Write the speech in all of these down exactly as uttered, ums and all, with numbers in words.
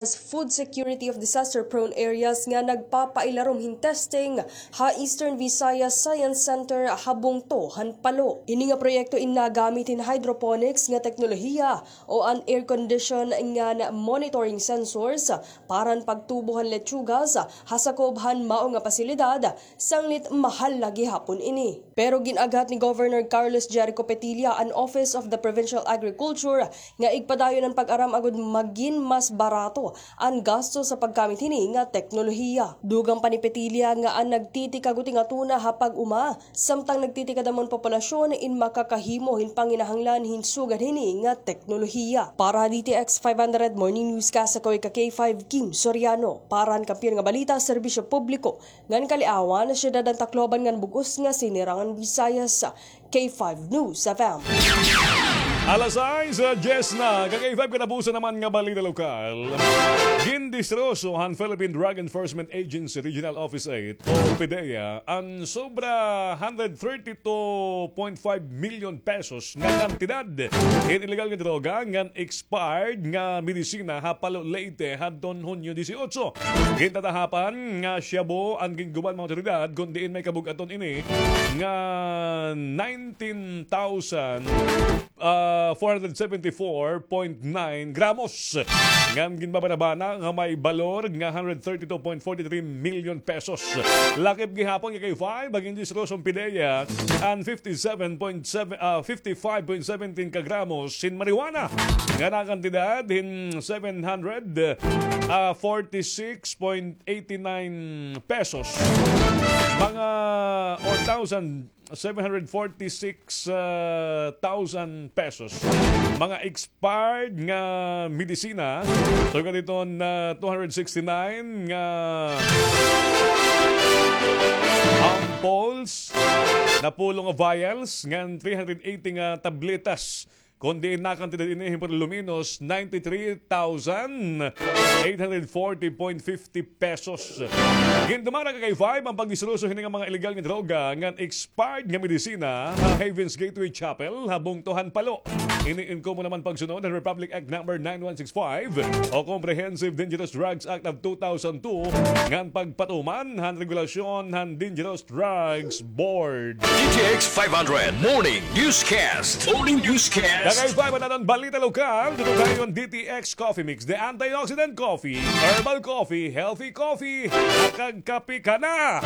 Food Security of Disaster-Prone Areas nga nagpapailarom hin testing ha Eastern Visayas Science Center ha bungto han Palo. Ini nga proyekto in nagamit hin hydroponics nga teknolohiya o an air condition ngan monitoring sensors para han pagtubo han letsugas ha sakob han mao nga pasilidad, sanglit mahal la gihapon ini. Pero gin-aghat ni Governor Carlos Jericho Petilla an Office of the Provincial Agriculture nga igpadayon an pag-aram agod magin mas barato an gasto sa paggamit hini nga teknolohiya. Dugang pa ni Petilla nga an nagtitikag uti nga tuna ha pag-uma, samtang nagtitikadam an populasyon in makakahimo hin panginahanglan hin sugad hini nga teknolohiya. Para ha D T X five hundred Morning Newscast, ako ika K five Kim Soriano. Para han Kampiyon nga Balita, Serbisyo Publiko ngan Kaliawan, Syudad han Tacloban ngan bug-os nga Sinirangan Visayas, K five News F M. Alas sais, ah, diyes na. Ka K five, katapusan naman nga balita lokal. Gindistroso han Philippine Drug Enforcement Agency Regional Office eight o PDEA an sobra hundred thirty-two point five million pesos nga kantidad hin illegal nga droga ngan expired nga medisina ha Palo, Leyte hadton Hunyo disiotso. Gintatahapan nga shabu an ginguban mga awtoridad, kon diin may kabug-aton ini nga nineteen thousand, ah, four hundred seventy-four point nine gramos. Ngan ginbabanabana nga may balor nga hundred thirty-two point forty-three million pesos. Lakip gihapon nga K five, gindistroso han PDEA an fifty-seven point seven, ah, fifty-five point seventeen ka gramos hin marijuana nga nakantidad hin seven hundred, ah, forty-six point eighty-nine pesos. Mga, or thousand, seven hundred forty-six, ah, thousand pesos. Mga expired nga medisina. So, kaniton na two hundred sixty-nine nga ampoules, napulo nga vials, ngan three hundred eighty nga tabletas. Kon diin nakantidad ini hin por lo menos ninety-three thousand eight hundred forty point fifty pesos. Gindumara ka K five an pagdistroso hini nga mga illegal nga droga ngan expired nga medisina ha Haven's Gateway Chapel ha bungto han Palo. Ini in komo naman pagsunod han Republic Act Number nine one six five o Comprehensive Dangerous Drugs Act of two thousand two ngan pagpatuman han regulasyon han Dangerous Drugs Board. D T X five hundred Morning Newscast. Morning Newscast. Kakaiba man aton balita lokal, tutukayon D T X Coffee Mix, the antioxidant coffee, herbal coffee, healthy coffee, nakagkape ka na,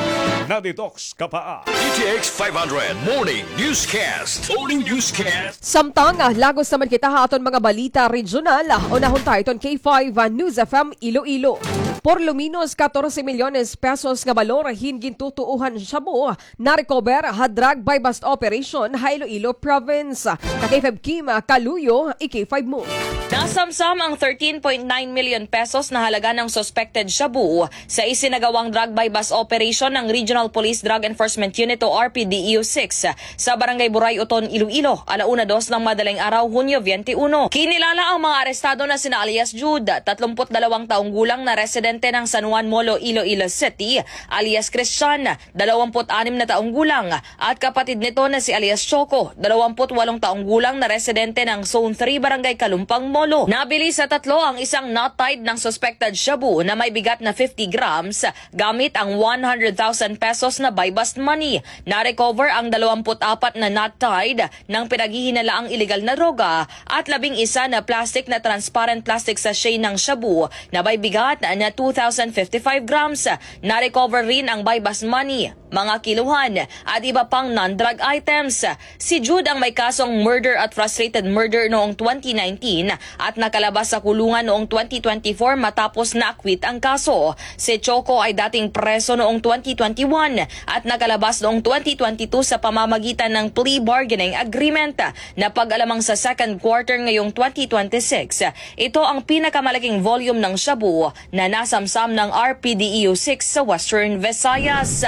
na-detox ka pa. D T X five hundred Morning Newscast. Morning Newscast. Samtang, ah, lagos naman kita ha aton mga balita regional, ah, unahon ta iton K five, ah, News F M Iloilo. Por lo menos katorse milyones pesos nga balor hin gintutuohan shabu na-recover ha drug buy-bust operation ha Iloilo Province. Ka K five Kim Kaluyo, i K five mo. Nasamsam ang thirteen point nine million pesos na halaga ng suspected shabu sa isinagawang drug buy-bust operation ng Regional Police Drug Enforcement Unit o R P D E U six sa Barangay Buray, Oton, Iloilo, ala una dos ng madaling araw, Hunyo twenty-one. Kinilala ang mga arestado na sina alias Jude, tatlumpu't dalawang taong gulang na residente ng San Juan Molo, Iloilo City, alias Christian, dalawampu't anim na taong gulang, at kapatid nito na si alias Choco, dalawampu't walong taong gulang na residente ng Zone three, Barangay Kalumpang, Molo. Nabili sa tatlo ang isang knot tied ng suspected shabu na may bigat na fifty grams gamit ang one hundred thousand pesos na buy-bust money. Na-recover ang dalawampu't apat na knot tied ng pinaghihinalaang iligal na droga at labing isa na plastic na transparent plastic sachet ng shabu na may bigat na two thousand fifty-five grams. Na-recover rin ang buy-bust money, mga kiluhan, at iba pang non-drug items. Si Jude ang may kasong murder at frustrated murder noong twenty nineteen at nakalabas sa kulungan noong twenty twenty-four matapos na-acquit ang kaso. Si Choco ay dating preso noong twenty twenty-one at nakalabas noong twenty twenty-two sa pamamagitan ng plea bargaining agreement na pag-alamang sa second quarter ngayong twenty twenty-six. Ito ang pinakamalaking volume ng shabu na nasamsam ng R P D E U six sa Western Visayas.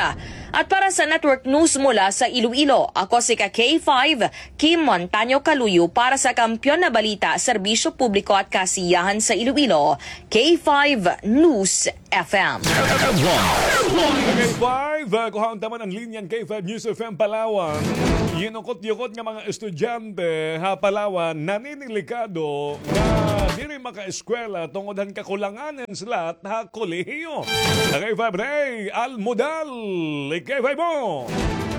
At para sa Network News mula sa Iloilo, ako si ka K five, Kim Montaño Kaluyo para sa Kampiyon na Balita, Serbisyo Publiko at Kasiyahan sa Iloilo, K five News F M. F M one. K five, ah, kuhaon ta man an linya han K five News F M Palawan. Yinukot-yukot nga mga estudyante ha Palawan naninilikado nga diri makaeskwela tungod han kakulangan han slot ha kolehiyo. K five Ray Almudal, K five mo.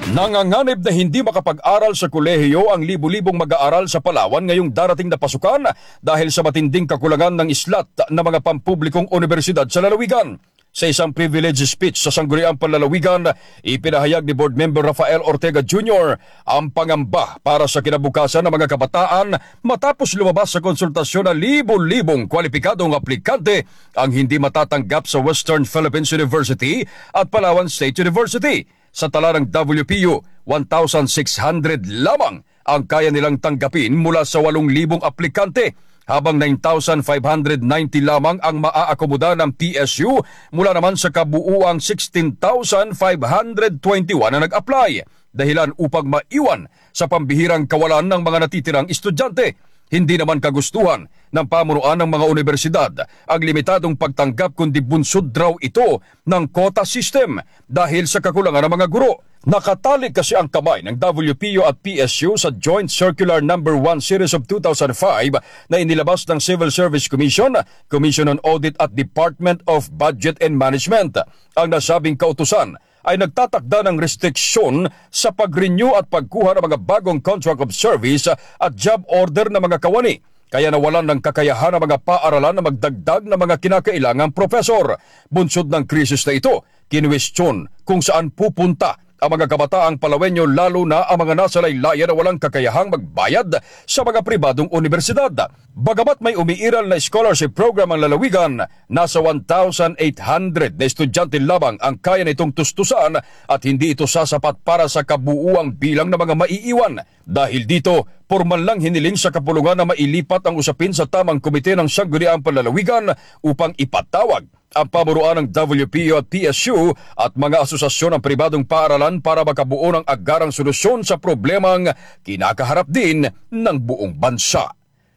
Nanganganib na hindi makapag-aral sa kolehiyo ang libo-libong mag-aaral sa Palawan ngayong darating na pasukan dahil sa matinding kakulangan ng slot ng mga pampublikong unibersidad sa lalawigan. Sa isang privilege speech sa Sangguniang Panlalawigan, ipinahayag ni Board Member Rafael Ortega Junior ang pangamba para sa kinabukasan ng mga kabataan matapos lumabas sa konsultasyon na libo-libong kwalipikadong aplikante ang hindi matatanggap sa Western Philippines University at Palawan State University. Sa tala ng W P U, one thousand six hundred lamang ang kaya nilang tanggapin mula sa walong libong aplikante, habang nine thousand five hundred ninety lamang ang maaakomoda ng P S U mula naman sa kabuuang sixteen thousand five hundred twenty-one na nag-apply. Dahilan upang maiwan sa pambihirang kawalan ng mga natitirang estudyante. Hindi naman kagustuhan ng pamunuan ng mga unibersidad ang limitadong pagtanggap, kundi bunsod raw ito ng quota system dahil sa kakulangan ng mga guro. Nakatali kasi ang kamay ng W P U at P S U sa Joint Circular Number One Series of two thousand five na inilabas ng Civil Service Commission, Commission on Audit at Department of Budget and Management. Ang nasabing kautusan ay nagtatakda ng restriksyon sa pag-renew at pagkuha ng mga bagong contract of service at job order ng mga kawani. Kaya nawalan ng kakayahan ang mga paaralan na magdagdag ng mga kinakailangang profesor. Bunsod ng krisis na ito, kinwestiyon kung saan pupunta ang mga kabataang Palawenyo, lalo na ang mga nasa laylayan na walang kakayahang magbayad sa mga pribadong unibersidad. Bagamat may umiiral na scholarship program ang lalawigan, nasa one thousand eight hundred na estudyante lamang ang kaya nitong tustusan at hindi ito sasapat para sa kabuuang bilang ng mga maiiwan. Dahil dito, pormal nang hiniling sa kapulungan na mailipat ang usapin sa tamang komite ng Sangguniang Panlalawigan upang ipatawag ang pamunuan ng W P U at P S U at mga asosasyon ng pribadong paaralan para makabuo ng agarang solusyon sa problemang kinakaharap din ng buong bansa.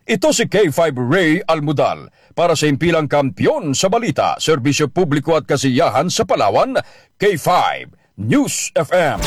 Ito si K five Ray Almudal para sa Himpilang Kampiyon sa Balita, Serbisyo Publiko at Kasiyahan sa Palawan, K five News F M.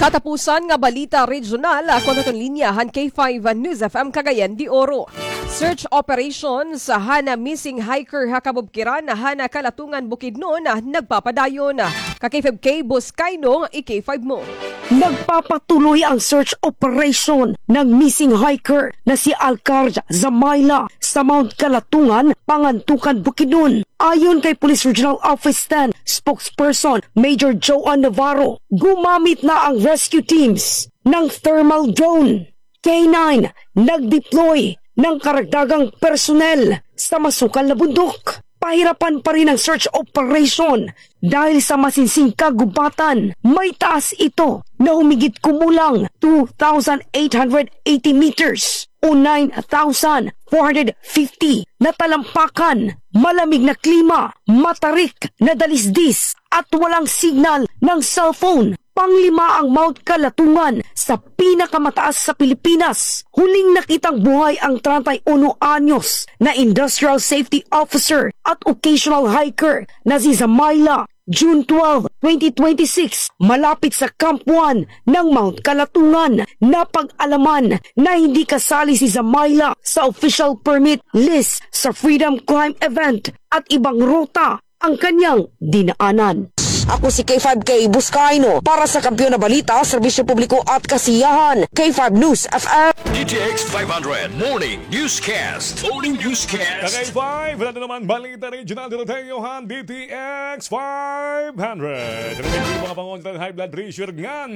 Katapusan nga balita regional, kuno iton linya han K five News F M Cagayan de Oro. Search operations han missing hiker ha kabubkiran han Kalatungan, Bukidnon nagpapadayon. Ka K five Kay Buscaino, i-K five mo. Nagpapatuloy ang search operation ng missing hiker na si Alcar Zamaila sa Mount Kalatungan, Pangantukan, Bukidnon. Ayon kay Police Regional Office ten spokesperson Major Joan Navarro, gumamit na ang rescue teams ng thermal drone, K nine, nag-deploy ng karagdagang personnel sa masukal na bundok. Pahirapan pa rin ang search operation dahil sa masinsing kagubatan. May taas ito na humigit kumulang two thousand eight hundred eighty meters o nine thousand four hundred fifty na talampakan, malamig na klima, matarik na dalisdis at walang signal ng cellphone. Panglima ang Mount Kalatungan sa pinakamataas sa Pilipinas. Huling nakitang buhay ang treinta y uno anyos na industrial safety officer at occasional hiker na si Zamaila, June twelve, twenty twenty-six, malapit sa Camp One ng Mount Kalatungan. Napag-alaman na hindi kasali si Zamaila sa official permit list sa Freedom Climb event at ibang ruta ang kanyang dinaanan. Ako si K five Kay Buscaino para sa Kampiyon na Balita, Serbisyo Publiko at Kasiyahan, K five News F M. D T X five hundred Morning Newscast. Morning Newscast. Ka K five, ano naman balita regional dito tayo han D T X five hundred. Ano yung mga panguntan high blood pressure ngan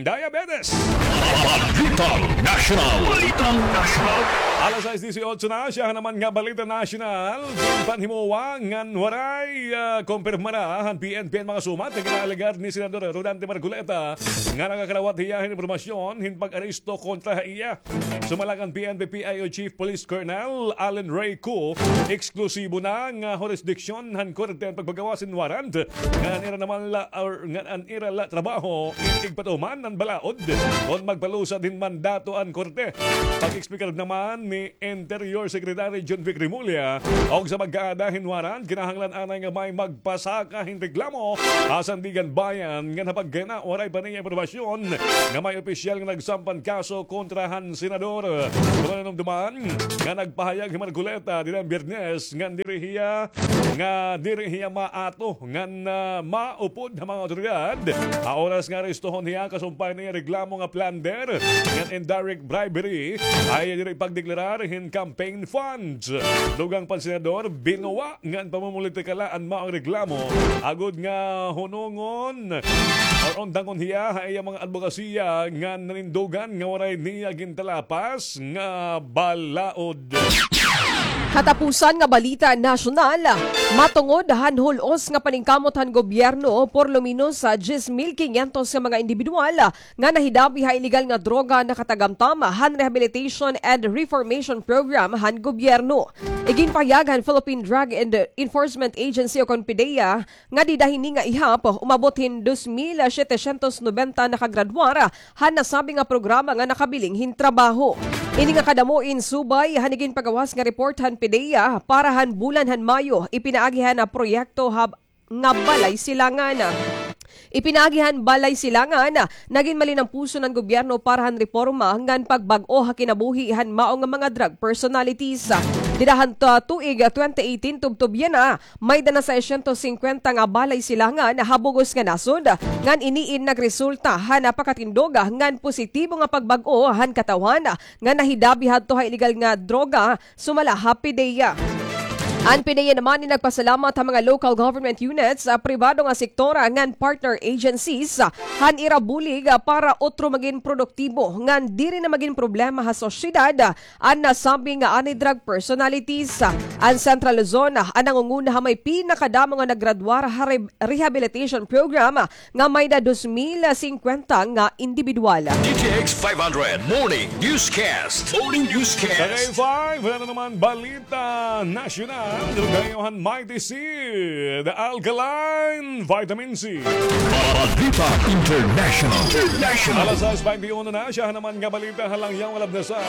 diabetes? Balitang National. Balitang National. Alas sais dieciocho na, siya naman nga balita national. Panhimuwa ngan waray, ah, kumpirmara han P N P an mga Sumat nga ginaalegar ni Senador Rodante Marcoleta nga nakakarawat hiya hin impormasyon hin pag-aresto kontra ha iya. Sumala kan P N P P I O Chief Police Colonel Allen Ray Koo, eksklusibo na nga hurisdiksyon han korte an pagpagawas hin warrant ngan an ira naman la, or ngan an ira la trabaho igpatuman an balaod kon magpalusad hin mandato an korte. Pag-explicar naman ni Interior Secretary Jonvic Remulla, og sa pagkaada hin warrant, kinahanglan anay nga may magpasaka hin reklamo ha Sandiganbayan ngan ha pagkana waray pa niya impormasyon nga may opisyal nga nagsampan kaso kontra han senador. Pero nanumduman nga nagpahayag hi Marcoleta dida Biyernes ngan diri hiya nga diri hiya maato ngan, ah, maupod ha mga awtoridad. Ha oras nga arestohon hiya, kasumpay niya reklamo nga plunder ngan indirect bribery, ay diri pagdeklarar hin campaign funds. Dugang pa an senador, binuwa ngan pamumulitikala an maong reklamo, agod nga hunongon or undangon hiya ha iya mga adbokasiya nga nanindugan nga waray niya gintalapas nga balaod. Katapusan nga balita nasyonal, matungod han hul-os nga paningkamot han gobyerno, por lo menos sa diyes mil kinyentos nga mga indibidwal nga nahidapi ha iligal nga droga nakatagamtam han Rehabilitation and Reformation Program han gobyerno. Iginpahayag han Philippine Drug and Enforcement Agency o kon PDEA nga dida hini nga ihap, umabot hin dos mil setecientos nobenta nakagradwar han nasabi nga programa nga nakabiling hin trabaho. Ini nga kadamo in subay han iginpagawas nga report han PDEA para han bulan han Mayo, ipinaagi han proyekto ha nga Balay Silangan. Ipinaagi han Balay Silangan, nagin malinampuson an gobyerno para han reporma ngan pagbag-o ha kinabuhi han mao nga mga drug personalities. Dida han ta-, tuig twenty eighteen tubtob yana, may-ada na seiscientos cincuenta nga Balay Silangan ha bug-os nga nasod, ngan ini in nagresulta han napakatindog ngan positibo nga pagbag-o han katawhan nga nahidapi hadto ha iligal nga droga, sumala ha PDEA. An PDEA naman in nagpasalamat ha mga local government units, ah, pribado nga sektor, ah, ngan partner agencies, ah, han ira bulig, ah, para utro magin produktibo ngan diri na magin problema ha sosyedad, ah, an nasabi nga anti-drug personalities. Ah, an Central Luzon, ah, an nangunguna ha may pinakadamo nga naggraduar ha re-, rehabilitation program, ah, nga may-ada dos mil singkwenta nga indibidwal. D T X five hundred Morning Newscast. Morning Newscast. Sa K five, wala na naman balita nasyonal. Dulog kayo han Mighty Seed Alkaline Vitamin C. Balita International. International. Alas sais baynte uno na, siya naman nga balita ha langyaw nga labnasan.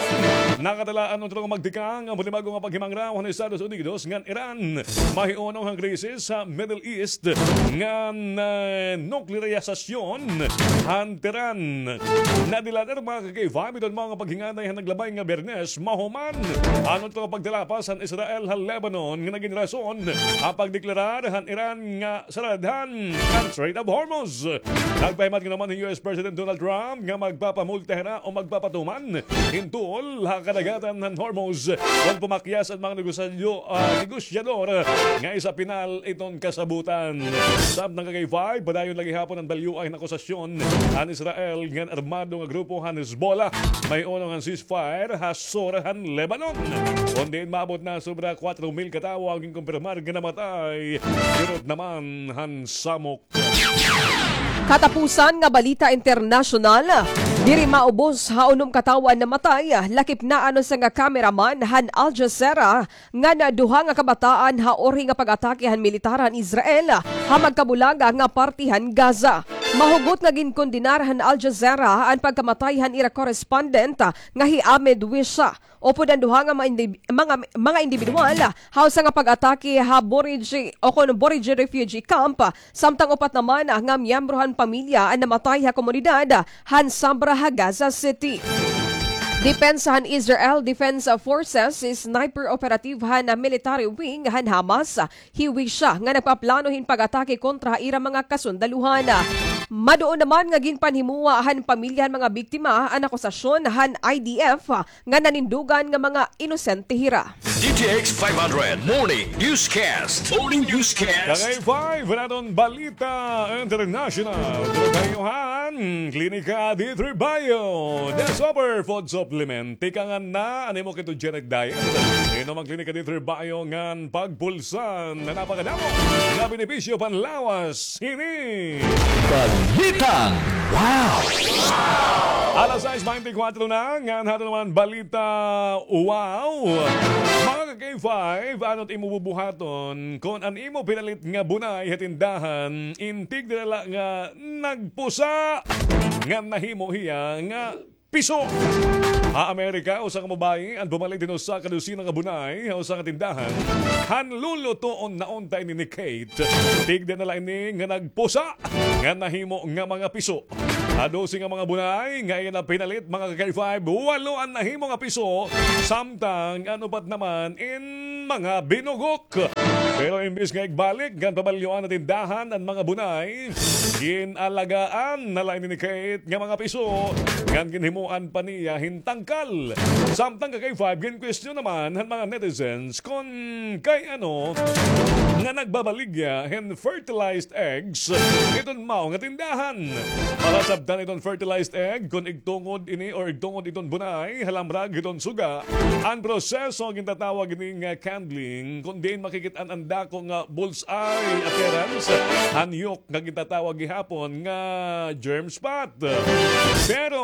Nakatalaan utro nga magtikang an panibago nga paghimangraw han Estados Unidos ngan Iran. Mahiunong han krisis sa Middle East ngan, eh, nuklearisasyon han Tehran. Nadilader, mga ka-K five, iton mga paghinganay han naglabay nga Biyernes, mahuman an utro nga pagtalapas han Israel ha Lebanon nga nagin rason an pagdeklarar han Iran nga saradhan an Strait of Hormuz. Nagpahimatngon naman hi U S President Donald Trump nga magpapamulta hira o magpapatuman hin toll ha kadagatan han Hormuz kon pumakyas an mga negosyo, ah, negosyador nga isa pinal iton kasabutan. Samtang ka-K five, padayon la gihapon an balyoay nga akusasyon han Israel ngan armado nga grupo han Hezbollah mahiunong han ceasefire ha sur han Lebanon. Kon diin maabot na sobra kuwatro mil ka tawo an ginkumpirmar nga namatay, kirot naman han samok. Katapusan nga balita internasyonal, diri maubos ha unom ka tawo an namatay, lakip na an usa nga cameraman han Al Jazeera ngan duha nga kabataan ha urhi nga pag-atake han militar han Israel ha magkabulaga nga parte han Gaza. Mahugot nga ginkondenar han Al Jazeera an pagkamatay han ira correspondent nga hi Ahmed Wisha. Upod an duha nga mga indi-, mga, mga indibidwal ha usa nga pag-atake ha Bureij o kon Bureij refugee camp, samtang upat naman nga miyembro han pamilya an namatay ha komunidad han Sabra ha Gaza City. Depensa han Israel Defense Forces, sniper operative han military wing han Hamas, hi Wisha nga nagpaplano hin pag-atake kontra ha ira mga kasundaluhan. Maduon naman nga ginpanhimoa han pamilya han mga biktima an akusasyon han I D F nga nanindugan nga mga inosente hira. D T X five hundred Morning Newscast. Morning Newscast. Ka-K five, an aton balita international. Dulog kayo han Klinika di Tribayo, the super food supplement. Tikangan na an imo ketogenic diet. Inom an Klinika di Tribayo ngan pagbulsan na napakadamo nga benepisyo panlawas. Ini Balitang Wow! Alas sais baynte kwatro na, ngan hito naman balita. Wow! Mga ka-K five, ano it imo bubuhaton kon an imo pinalit nga bunay ha tindahan, in tigda na la nga nagpusa, ngan nahimo hiya nga piso. Ha Amerika, usa ka babaye an pumalit hin usa ka dosina nga bunay ha usa ka tindahan. Han lulutoon na unta ini ni Kate. Tigda na la ini nga nagpusa, ngan nahimo nga mga piso. Ha dose nga mga bunay nga iya na pinalit, mga ka-K five, walo an nahimo nga piso, samtang an upat naman in mga binugok. Pero imbis nga igbalik ngan pabalyoan ha tindahan an mga bunay, gin-alagaan na la ini ni Kate nga mga piso, ngan ginhimoan pa niya hin tangkal. Samtang ka-K five, gin-question naman han mga netizens kon kay ano nga nagbabaligya hin fertilized eggs iton mao nga tindahan. Para sabtan iton fertilized egg, kon igtungod ini or igtungod iton bunay, halamrag iton suga, an proseso gintatawag ini nga candling, kon diin makikit-an an dako nga bullseye appearance, an yolk nga gintatawag gihapon nga germ spot. Pero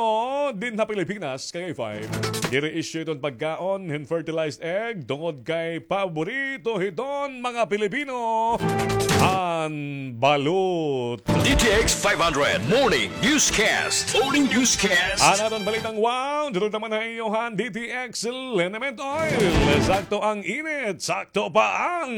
dinhi ha Pilipinas, ka-K five, diri issue iton pagkaon hin fertilized egg tungod kay paborito hiton mga Pilipino an balot. D T X five hundred Morning Newscast. Morning Newscast. An aton balitang wow, durog naman ha iyo han D T X Liniment Oil. Sakto ang init, sakto pa ang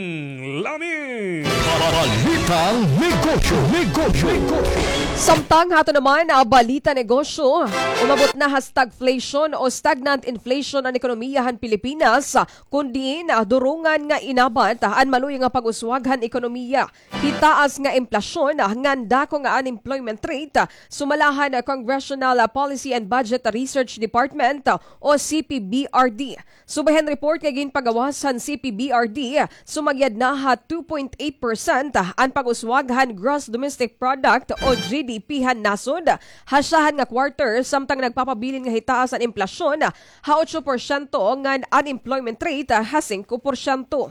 lami. Balitang negosyo, negosyo, negosyo. Samtang hato naman, ah, balita negosyo, umabot na ha stagflation o stagnant inflation an ekonomiya han Pilipinas, kun diin, ah, durungan nga inabat, ah, an maluya nga pag-uswag han ekonomiya. Hitaas nga implasyon, ah, ngan dako nga unemployment rate, ah, sumala han, ah, Congressional, ah, Policy and Budget Research Department, ah, o C P B R D. Subay han report nga ginpagawas han C P B R D, sumagyad na ha two point eight percent an pag-uswag han Gross Domestic Product o G D P han nasod ha syahan nga quarter, samtang nagpapabilin nga hitaas an implasyon ha otso porsyento ngan unemployment rate ha singko porsyento.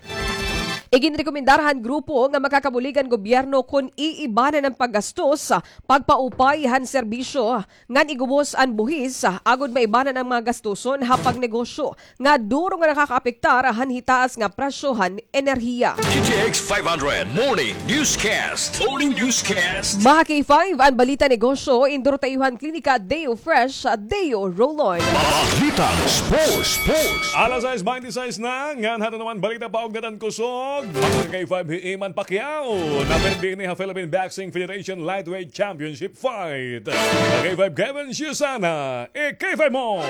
Iginrekomendar han grupo nga makakabulig an gobyerno kon iibanan an paggastos, pagpaupay han serbisyo, ngan igubos an buhis, agod maibanan an mga gastuson ha pagnegosyo nga duro nga nakakaapektar han hitaas nga presyo han enerhiya. D T X five hundred Morning Newscast. Morning Newscast. Mga ka-K five, an balita negosyo, induro ta iyo han Klinika Deo Fresh, Deo Roll-On. Balitang sports, sports. Alas sais baynte sais na, ngan hato naman balita paugnadan kusog. Mga ka-K five, hi Eman Pacquiao naperde ini ha Philippine Boxing Federation Lightweight Championship fight. Ka-K five, Kevin Susana, i-K five mo.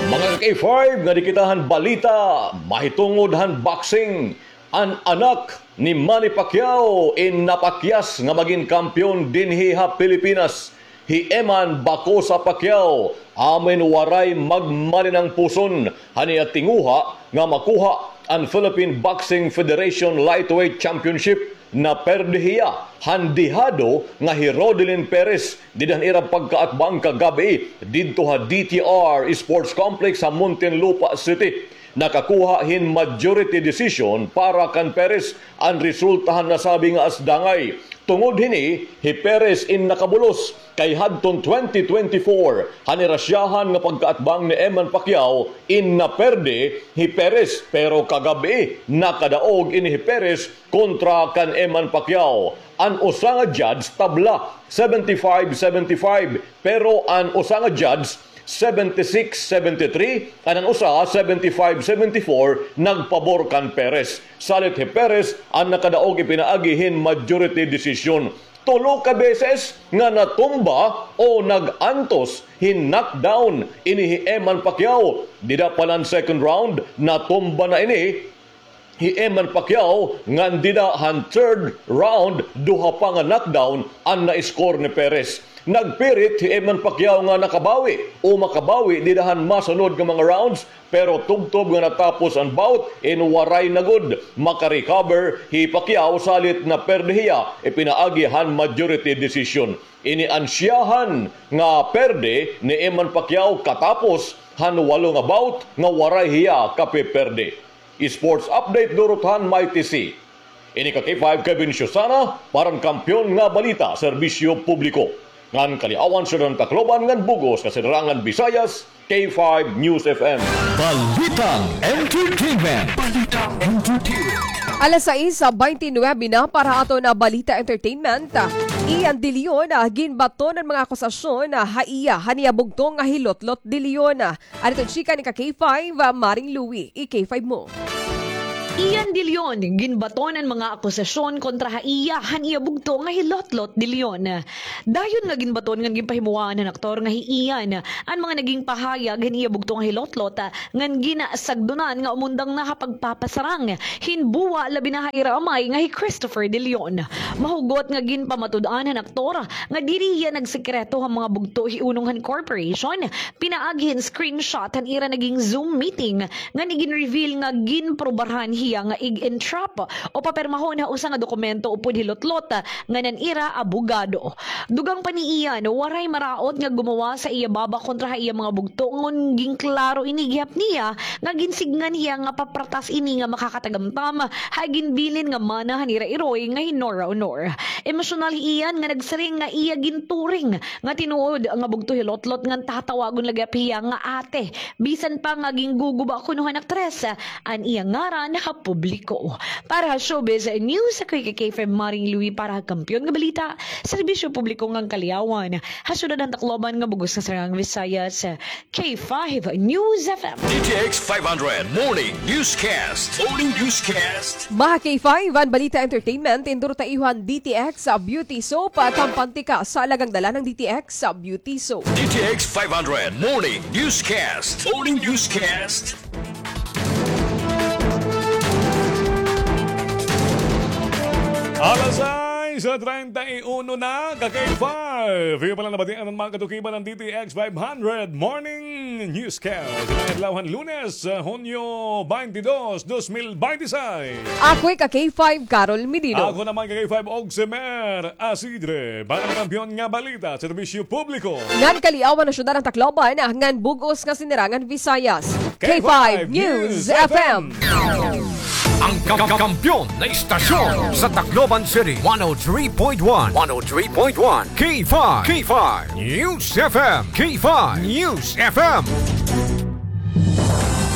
Mga ka-K five, ngadi kita han balita mahitungod han boxing. An anak ni Manny Pacquiao in napakyas nga magin kampeon dinhi ha Pilipinas. Hi Eman Bacosa Pacquiao, amo in waray magmalinangpuson han iya tinguha nga makuha an Philippine Boxing Federation Lightweight Championship. Naperde hiya han dehado nga hi Rodelin Perez dida han ira pagkaatbang kagab-i didto ha D T R Sports Complex ha Muntinlupa City. Nakakuha hin majority decision para kan Perez an resulta han nasabi nga asdangay. Tungod hini, hi Perez in nakabulos, kay hadton twenty twenty-four, han ira syahan nga pagkaatbang ni Eman Pacquiao, in naperde hi Perez, pero kagab-i nakadaog ini hi Perez kontra kan Eman Pacquiao. An usa nga judge tabla, seventy-five seventy-five, pero an usa nga judge seventy-six seventy-three, ngan an usa seventy-five seventy-four, nagpabor kan Perez. Salit hi Perez an nakadaog ipinaagi hin majority decision. Tulo ka beses nga natumba o nag-antos hin knockdown ini hi Eman Pacquiao. Dida pa la han second round, natumba na ini hi Eman Pacquiao, ngan dida han third round, duha pa nga knockdown an na-score ni Perez. Nagpirit hi Eman Pacquiao nga nakabawi o makabawi dida han masunod nga mga rounds, pero tubtob nga natapos an bout, in waray na gud makarecover hi Pacquiao salit naperde hiya ipinaagi han majority decision. Ini an siyahan nga perde ni Eman Pacquiao katapos han walo nga bout nga waray hiya kapiperde. Sports update durot han Mighty C. Ini ka K five Kevin Susana, para han Kampiyon nga Balita, Serbisyo Publiko. Ngan kaliawan sa Tacloban ngan bug-os nga Silangan Visayas, K five News F M. Balitang Entertainment. Balitang Entertainment. Alas sais bente nuebe na para ha aton nga Balita Entertainment. Ian De Leon, ah, ginbaton an mga akusasyon, ah, ha iya han iya bugto nga hi Lotlot De Leon. Adto chika ni ka K five, ah, Maring Louie, i-K five mo. Ian De Leon, ginbaton an mga akusasyon kontra ha iya han iya bugto nga hi Lotlot De Leon. Dayon nga ginbaton ngan ginpahimuwaan han aktor nga hi Ian an mga naging pahayag han iya bugto nga hi Lotlot, ah, ngan ginasagdunan nga umundang na ha pagpapasarang hin buwa labi na ha ira amay nga hi Christopher De Leon. Mahugot nga ginpamatud-an han aktor nga diri hiya nagsekreto han mga bugto hiunong han corporation, pinaagi hin screenshot han ira naging Zoom meeting ngan igin-reveal nga ginprobahan hiya nga ig-entrap o papirmahon ha usa nga dokumento upod hi Lotlot ngan an ira abogado. Dugang pa ni Ian, waray maraot nga gumawas ha iya baba kontra ha iya mga bugto, ngan ginklaro ini gihap niya nga ginsidngan hiya nga papratas ini nga makakatagamtam ha ginbilin nga mana han ira iroy nga hi Nora Honor. Emosyonal hi Ian nga nagsiring nga iya ginturing nga tinuod nga bugto hi Lotlot ngan tatawagon la gihap hiya nga ate, bisan pa nga gingguguba kuno han aktres an iya ngaran ha publiko. Para ha Showbiz News, ako hi K five Maring Louie para ha Kampiyon nga Balita, Serbisyo Publiko ngan Kaliawan, ha syudad han Tacloban ngan bug-os nga Silangan Visayas, K five News F M. D T X five hundred Morning Newscast. Morning Newscast. Mga K five, an Balita Entertainment, indurot ha iyo han D T X Beauty Soap, ah, kampante ka sa alagang dala ng D T X Beauty Soap. D T X five hundred Morning Newscast. Morning Newscast. Alas sais treinta y uno na, ka K five. Iyo pa la nabatian an mga katukiban han D T X five hundred Morning Newscast. Ngayong adlaw han Lunes, ah, Hunyo twenty-two, twenty twenty-six. Ako hi ka K five, Carol Medino. Ako naman ka K five, Oximer Asidre. Para han Kampiyon nga Balita, Serbisyo Publiko ngan Kaliawan ha syudad han Tacloban, ah, ngan bug-os nga Silangan Visayas, K five News F M. Ang ka-, ka-, kampiyon na istasyon sa Tacloban City, one oh three point one, one oh three point one, K five, K five News F M, K five News F M.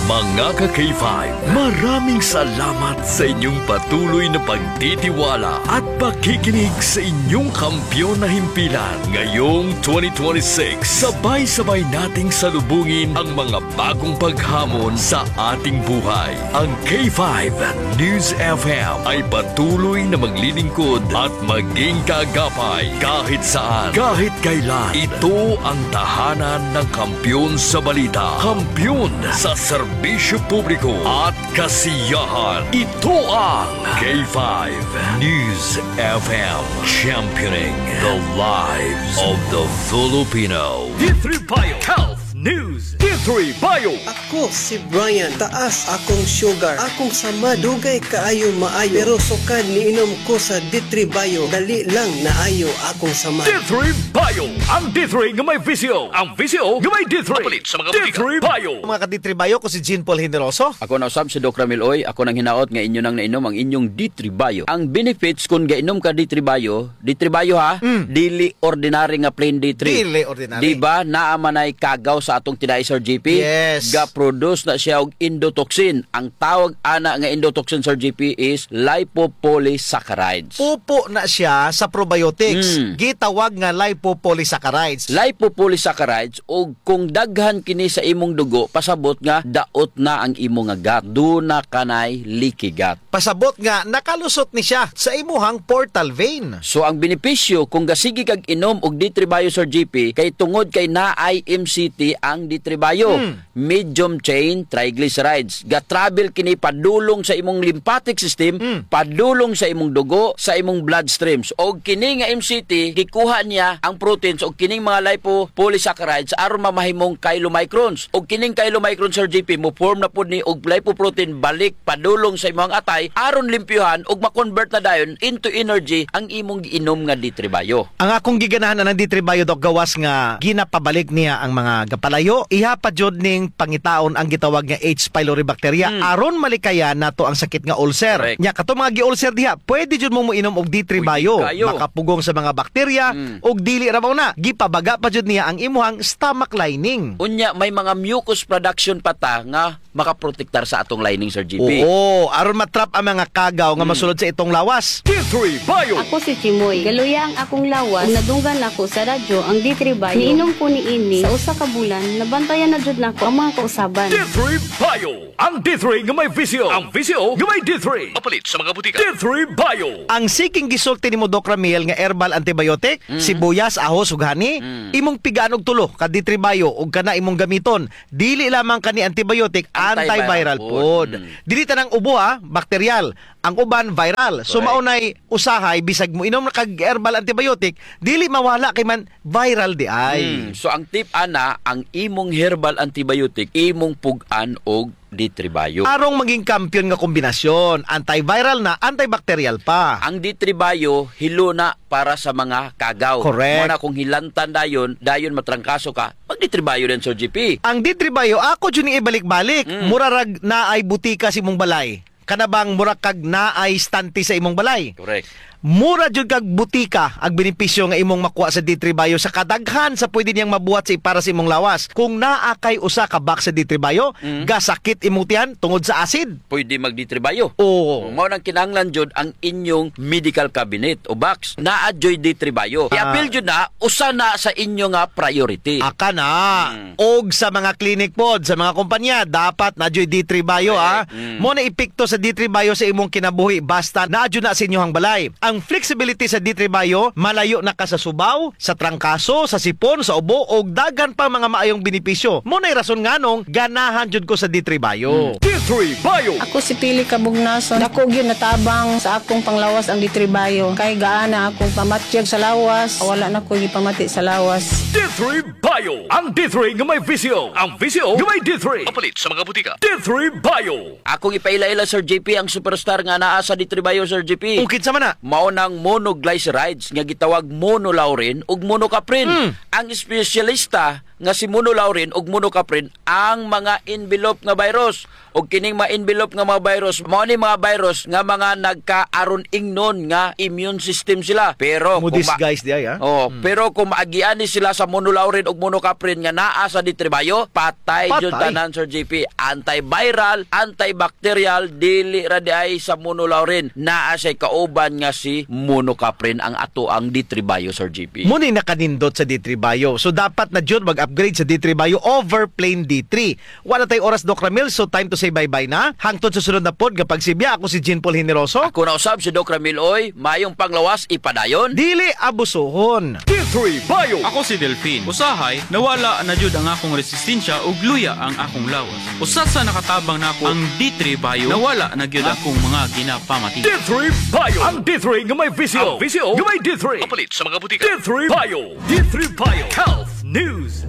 Mga ka-K five, maraming salamat sa inyong patuloy na pagtitiwala at pakikinig sa inyong kampiyon na himpilan. Ngayong twenty twenty-six, sabay-sabay nating salubungin ang mga bagong paghamon sa ating buhay. Ang K five News F M ay patuloy na maglilingkod at maging kaagapay kahit saan, kahit kailan. Ito ang tahanan ng kampiyon sa balita, kampiyon sa serbisyo publiko at kasiyahan. Ito ang K five News F M, championing the lives of the Filipino. D three Bio Health News. D three Bio. Ako si Brian, taas akong sugar. Akong samad, dugay kaayo maayo. Pero sukad niinom ko sa D three Bio, dali lang naayo akong samad. D three Bio, ang D three nga may V C O. Ang V C O nga may D three. Mapalit sa mga botika. D three Bio. Mga ka-D three Bio, ko si Jean Paul Generoso. Ako na usab si Doc Ramil Oy. Ako nang hinaot nga inyo nang nainom ang inyong D three Bio. Ang benefits kon gainom ka D three Bio, D three Bio ha, mm, dili ordinary nga plain D three. Dili ordinary. Di ba, naa man ay kagaw sa atong tinai, Sir G P? Yes. Ga-produce na siya og endotoxin. Ang tawag ana nga endotoxin, Sir G P, is lipopolysaccharides. Pupo na siya sa probiotics. Mm. Gitawag nga lipopolysaccharides. Lipopolysaccharides, ug kung daghan kini sa imong dugo, pasabot nga daot na ang imo nga gut. Duna kanay leaky gut. Pasabot nga nakalusot ni siya sa imuhang portal vein. So, ang benepisyo kung gasigi kag inom og D three Bio, Sir G P, kay tungod kay naay M C T ang D three Bio. Mm. Medium chain triglycerides. Ga-travel kini padulong sa imong lymphatic system, Mm. padulong sa imong dugo, sa imong bloodstreams. Og kini nga M C T, gikuha niya ang proteins og kining mga lipopolysaccharides aron mamahimong chylomicrons. Og kining chylomicron, Sir G P, mo-form na pud ni og lipoprotein balik padulong sa imong atay aron limpyuhan og ma-convert na dayon into energy ang imong giinom nga D three Bio. Ang akong giganahan anang D three Bio, Doc, gawas nga ginapabalik niya ang mga gapalayo. Iha pa jud ning pangitaon ang gitawag nga H. pylori bacteria Hmm. aron malikayan nato ang sakit nga ulcer. Correct. Nya, kato mga gi-ulcer diha, pwede jud mo moinom og D three Pwede Bio. kayo. Makapugong sa mga bakterya Hmm. og dili ra mao na, gipabaga pa jud niya ang imuhang stomach lining. Unya, may mga mucus production pa ta nga makaprotektar sa atong lining, Sir G P. Oo, aron matrap ang mga kagaw nga Hmm. masulod sa itong lawas. D three Bio. Ako si Chimoy. Galuya ang akong lawas. Ug nadunggan ako sa radyo ang D three Bio. Niinom ko niini sa usa ka bulan, nabantayan na jud nako ang mga kausaban. D three Bio. Ang D three nga may V C O. Ang V C O nga may D three. Mapalit sa mga butika. D three Bio. Ang siking gisulti nimo, Doc Ramil, nga herbal antibiotic, Mm. sibuyas, ahos, ug honey, Mm. imong pigaan og tulo ka D three Bio ug kana imong gamiton. Dili lamang kani antibiotic, Antiviral antiviral pod. pod. Mm. Dili tanang ubo, ha, bakteryal. Ang uban, viral. So, Correct. mao nay usahay, bisag moinom na kag herbal antibiotic, dili mawala kay man viral di ay. Mm. So, ang tip ana, ang imong herbal antibiotic, imong pug-an og D three Bio. Arong maging kampiyon nga kombinasyon, antiviral na, antibacterial pa. Ang D three Bio, hilo na para sa mga kagaw. Correct. Mao na kung hilantan dayon, dayon matrangkaso ka, mag-D three Bio din, Sir G P. Ang D three Bio, ako jud ni ibalik-balik. Mm. Mura rag naay butika sa imong balay. Kana bang mura kag naay stante sa imong balay? Correct. Mura jud kag butika ang benepisyo nga imong makuha sa D three Bio sa kadaghan sa pwede niyang mabuhat sa para sa imong lawas. Kung naa kay usa ka box sa D three Bio, Mm. gasakit imong tiyan tungod sa acid. Pwede mag-D three Bio. Oo. Mao nang kinahanglan jud ang inyong medical cabinet o box. Naa juy D three Bio. Ah. I-appeal jud na, usa na sa inyo nga priority. Aka na. Mm. Og sa mga clinic pod, sa mga kompanya, dapat naa juy D three Bio, Correct. ah. Mm. Mao na epekto sa D three Bio sa imong kinabuhi, basta naa jud na sa inyohang balay. Ang flexibility sa D three Bio, malayo na ka sa subaw, sa trangkaso, sa sipon, sa ubo, og daghan pang mga maayong benepisyo. Mao nay rason nganong ganahan jud ko sa D three Bio. Hmm. D three Bio. Ako si Pili Kabugnason. Dako gyud natabang sa akong panglawas ang D three Bio. Kay gaana akong pamatyag sa lawas, wala na ko gipamati sa lawas. D three Bio. Ang D three nga may V C O. Ang V C O nga may D three. Mapalit sa mga butika. D three Bio. Akong ipaila-ila, Sir G P, ang superstar nga naa sa D three Bio, Sir G P. O, kinsa man na? Mao nang monoglycerides nga gitawag monolaurin ug monocaprin. Hmm. Ang espesyalista nga si monolaurin ug monocaprin ang mga envelope nga virus. Ug kining mga envelope nga mga virus, mao ni mga virus nga mga nagkaaron ingnon nga immune system sila. Pero kung ma- Mo-disguise di ay, ha? Oh, Hmm. pero kung maagian ni sila sa monolaurin ug monocaprin nga naa sa D three Bio, patay jud Patay. tanan, Sir G P. Antiviral, antibacterial, dili ra di ay sa monolaurin. Naa siya'y kauban nga si monocaprin ang atoang D three Bio, Sir G P. Mao ni nakanindot sa D three Bio. So, dapat na jud mag-upgrade sa D three Bio over plain D three. Wala tay oras, Doc Ramil, so time to say bye-bye na. Hangtod sa sunod na pod nga pagsibya, ako si Jean Paul Generoso. Ako na usab si Doc Ramil, oy. Mayong panglawas, ipadayon. Dili abusohon. D three Bio. Ako si Delfin. Usahay, nawala na jud ang akong resistensya ug luya ang akong lawas. Usa sa nakatabang nako ang D three Bio, nawala na gyud akong mga ginapamati. D three Bio. Ang D three nga may V C O. Ang V C O nga may D three. Mapalit sa mga butika. D three Bio. D three Bio. Health News.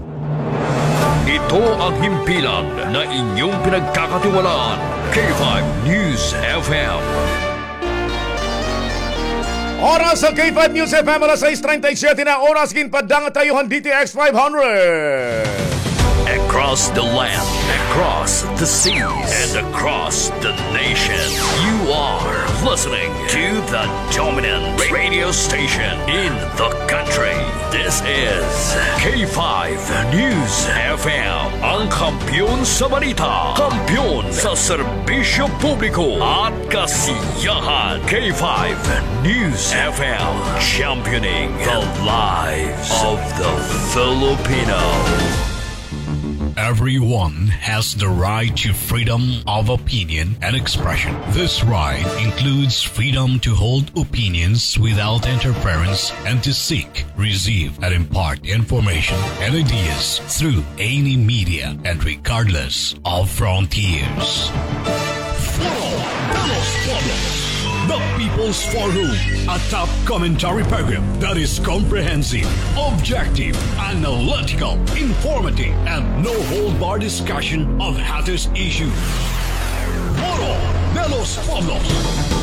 Ito ang himpilan na inyong pinagkakatiwalaan. K five News F M. Oras sa K five News F M, alas sais treinta y siete na oras, ginpaddangat tayo han D T X five hundred. Across the land, across the seas, and across the nation, you are listening to the dominant radio station in the country. This is K five News F M, ang kampiyon sa balita, kampiyon sa serbisyo publiko at kasiyahan. K five News F M, championing the lives of the Filipino. Everyone has the right to freedom of opinion and expression. This right includes freedom to hold opinions without interference and to seek, receive, and impart information and ideas through any media and regardless of frontiers. Foro de los Pueblos, the People's Forum, a top commentary program that is comprehensive, objective, analytical, informative, and no hold bar discussion of hottest issues. Foro de los Pueblos.